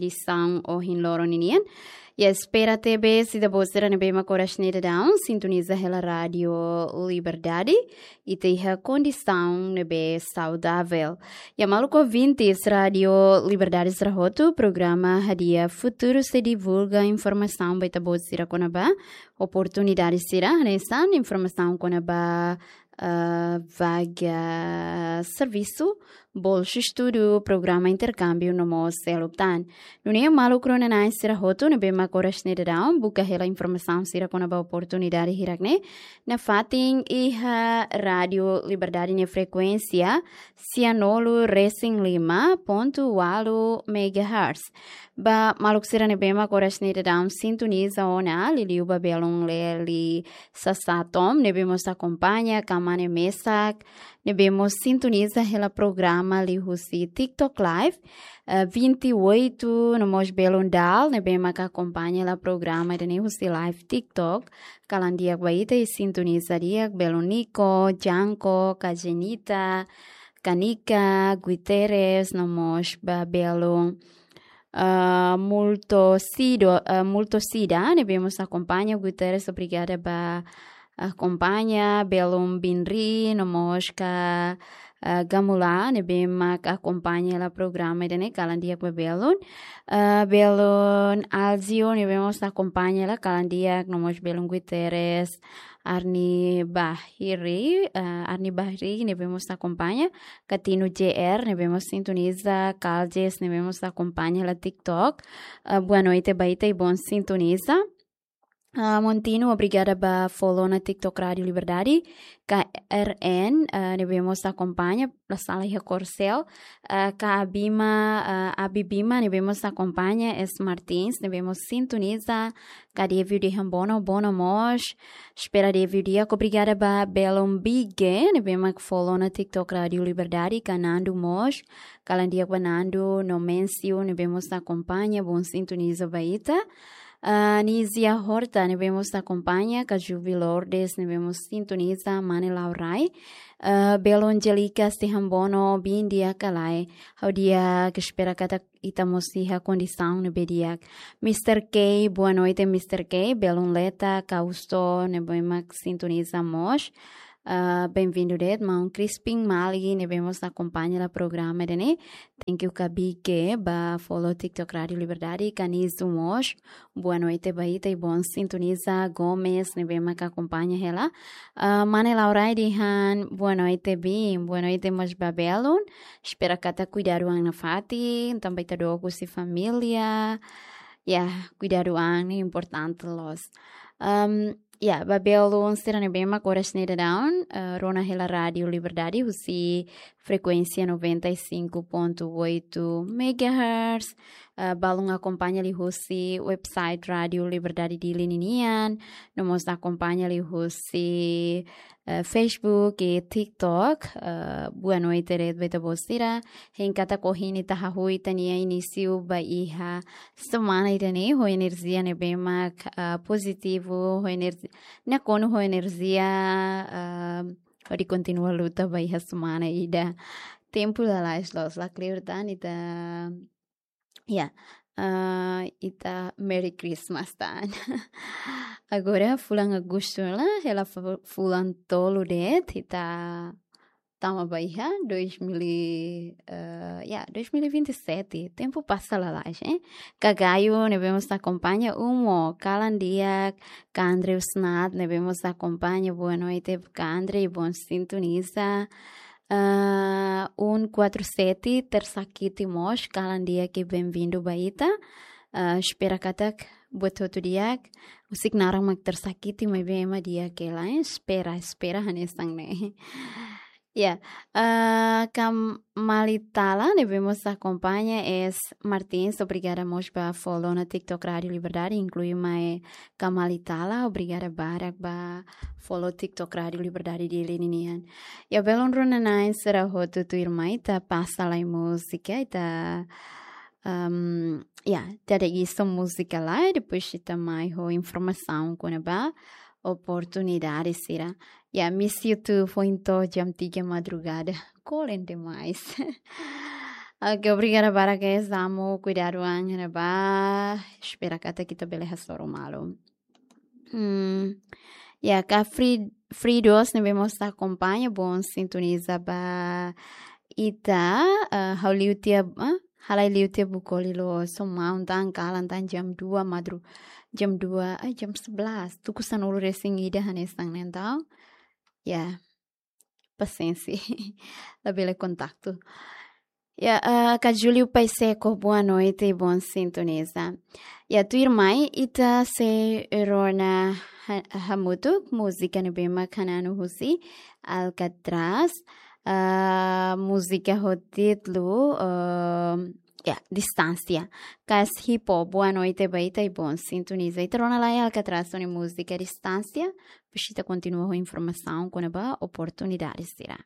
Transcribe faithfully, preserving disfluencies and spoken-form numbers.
edisaun ohin loron ninian. Ya, espera tebes ita-boot sira ne'ebé mak oras ne'e daudaun sintoniza hela Rádio Liberdade, ita iha kondisaun ne'ebé saudavel. Ya, maluk ouvintes Rádio Liberdade sira hotu, programa Hadi'a Futuru sei divulga informasaun ba ita-boot sira kona-ba oportunidade sira, hanesan informasaun kona-ba, ah, vaga servisu, bolsa estudu, programa interkámbiu no mós seluk tan. Nune'e maluk rona-na'in sira hotu ne'ebé mak oras ne'e daudaun buka hela informasaun sira kona-ba oportunidade hirak-ne'e, nafatin iha Rádio Liberdade nia frekuénsia sianulu resin lima pontu ualu megahertz. Ba maluk sira ne'ebé mak oras ne'e daudaun sintoniza ona, liuliu ba belun Leli Sasatom ne'ebé mós akompaña, ka mane mesak ne'ebé mós sintoniza hela programa liuhusi TikTok Live, eh, vinte e oito, no mós belun Dal ne'ebé mak akompaña hela programa ida-ne'e husi live TikTok. Kalan di'ak ba ita i sintoniza di'ak, belun Nico, Janko, Kajenita, Kanika, Guterres, no mós ba belun, ah, Multosido, ah, Multosida ne'ebé mós akompaña, Guterres, obrigada ba akompaña, belun Binri, no mós ka, ah, Gamula ne'ebé mak akompaña hela programa ida-ne'e, kalan di'ak ba belun. Ah, belun Alzio ne'ebé mós akompaña hela, kalan di'ak, no mós belun Guterres, Arni Bahri, ah, Arni Bahri ne'ebé mós akompaña, Katino J R ne'ebé mós sintoniza, Kaljes ne'ebé mós akompaña hela TikTok. Ah, boa noite ba ita i bon sintoniza. Ah, Montino, obrigada ba follow ona TikTok Rádio Liberdade. K R N, ah, ne'ebé mós akompaña, la sala iha Korsel. Ah, ka Abima, ah, Abibima ne'ebé mós akompaña, S Martins ne'ebé mós sintoniza, ka David de Hambono, bono mós. Espera David di'ak, obrigada ba belun Bige ne'ebé mak follow ona TikTok Rádio Liberdade, ka Nando mós. Kalan di'ak ba Nando, Nomencio ne'ebé mós akompaña, bon sintoniza ba ita. Ah, Nizia Horta ne'ebé mós akompaña, ka Juvi Lourdes ne'ebé mós sintoniza, mane Laurai. Ah, belun Angelica Sihambono, bin di'ak ka lae? Ha'u di'ak, espera katak ita mós iha kondisaun ne'ebé di'ak. Mister K, boa noite, Mister K. Belun Leta, Kausto ne'ebé mak sintoniza mós. Ah, bem-vindo de'it, maun Crispin Mali ne'ebé mós akompaña hela programa ida-ne'e. Thank you ka Bige ba follow TikTok Rádio Liberdade, ka Nizu mós. Boa noite ba ita i bon sintoniza, Gomes ne'ebé mak akompaña hela. Ah, mane Laurai dehan, boa noite, bin, boa noite mós ba belun. Espera katak kuidadu an nafatin, tanba ita dook husi família. Ya, kuidadu an ne'e importante loos. Am, ya, ba belun sira ne'ebé mak oras ne'e daudaun, eh, rona hela Rádio Liberdade husi frekuénsia noventa e cinco ponto oito megahertz. Eh, balun akompaña liuhusi website Rádio Liberdade Dili ninian, no mós akompaña liuhusi, eh, Facebook i TikTok. Eh, boa noite de'it ba ita-boot sira. Hein katak ohin ita hahú ita-nia inísiu ba iha semana ida-ne'e ho enerjia ne'ebé mak, ah, pozitivu, ho enerji-, nakonu ho enerjia, ah, hodi kontinua luta ba iha semana ida. Tempu lalais loos, la kleur tan ita, ya, ah, ita Merry Christmas tan. Agora fulan Agostu la, hela fu-, fulan tolu de'it, ita tama ba iha dois mil e, eh, ya, dois mil e vinte e sete. Tempu pasa lalais, eh. Ka Gayo ne'ebé mós akompaña, Umo, kalan di'ak, ka Andrew Snad ne'ebé mós akompaña, boa noite ka Andrew, bon sintoniza. Ah, um quatro sete, tersakiti mós, kalan di'ak i bem-vindo ba ita. Ah, espera katak buat hotu di'ak, husik naran mak tersakiti, maibé ema di'ak hela, eh. Espera, espera hanesan ne'e. Ya, ah, ka Malitala ne'ebé mós akompaña, S Martins, obrigada mós ba follow ona TikTok Rádio Liberdade, inklui mai ka Malitala, obrigada barak ba follow TikTok Rádio Liberdade Dili ninian. Ya, belun rona-na'in sira hotu, tuirmai ita pasa lai múzika, ita, am, ya, ita dada iis múzika lai, depois ita mai ho informasaun kona-ba oportunidade sira. Ya, Miss YouTube, foin to'o jam tiga madrugada. Kolen demais. Oke, obrigada barak guys, amo kuidadu an ne'ebá. Espera katak ita bele hasoru malu. Hmm, ya, ka free, free dos ne'ebé mós ita akompaña, bom sintoniza ba ita, eh, ha'u liu tiha, eh, halai liu tiha buka liu, so maun tan kalan tan jam dua madru, jam dua, eh, jam sebelas. Tuku sanulu resin ida hanesan ne'e entaun. Ya, pasiénsia. Labele kontaktu. Ya, eh, ka Júlio Paiseko, boa noite, bom sintoniza. Ya, tuirmai, ita sei rona ha-, hamutuk, múzika ne'ebé mak hananu husi Alcatraz. Eh, múzika ho títulu, eh, ya, Distánsia. Kas Hipo, boa noite ba ita i bom sintoniza. Ita rona lai Alcatraz nia múzika Distánsia. Depois ita kontinua ho informasaun kona-ba oportunidade sira.